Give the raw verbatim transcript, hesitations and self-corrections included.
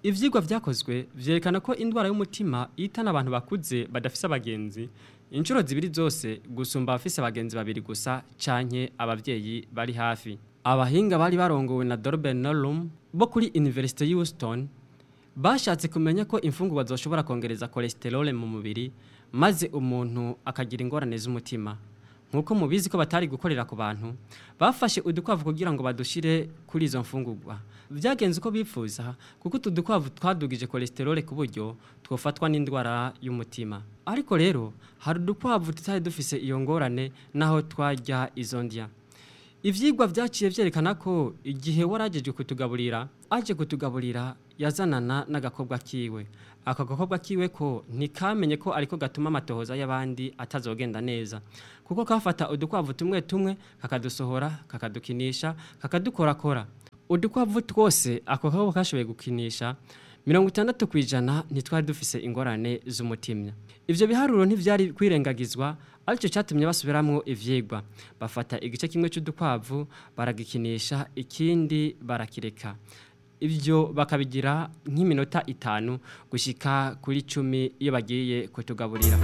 Ivyigwa vyakozwe vyerekana ko indwara y'umutima ihitana abantu bakuze badafise abagenzi inshuro zibiri zose gusumba abafise abagenzi babiri gusa canke abavyeyi bari hafi. Abahinga bari barongowe na Dorben Norum bo kuri University Houston bashatse kumenya ko imfungurwa zoshobora kongereza cholesterol mu mubiri maze umuntu akagira ingorane z'umutima. Nkuko mubizi ko batari gukorera ku bantu, bafashe udukwavu kugira ngo badushire kuri izo mfungurwa. Vyagenze uko bifuza kuko utu dukwavu twadugije cholesterol ku buryo twofatwa n'indwara y'umutima. Ariko rero hari udukwavu tutari dufise iyo ngorane naho twarya izo ndya. Ivyigwa vyaciye vyerekana ko igihe warajeje kutugaburira, aje kutugaburira yazanana n'agakobwa kiwe. Ako gakobwa kiwe ko ntikamenye ko ariko gatuma amatohoza y'abandi atazogenda neza. Kuko kafata udukwavu tumwe tumwe kakadusohora, kakadukinisha, kakadukorakora. Udukwavu twose ako gakobwa kashoboye gukinisha mirongo itandatu kw'ijana ntitwari dufise ingorane z'umutima. Ivyo biharuro ntivyari kwirengagizwa, aricyo cyatumye basubiramwo ivyigwa. Bafata igice kimwe c'udukwavu baragikinisha, ikindi barakireka. Ibyo bakabigira nk'iminota itanu gushika kuri cumi iyo bagiye kutugaburira.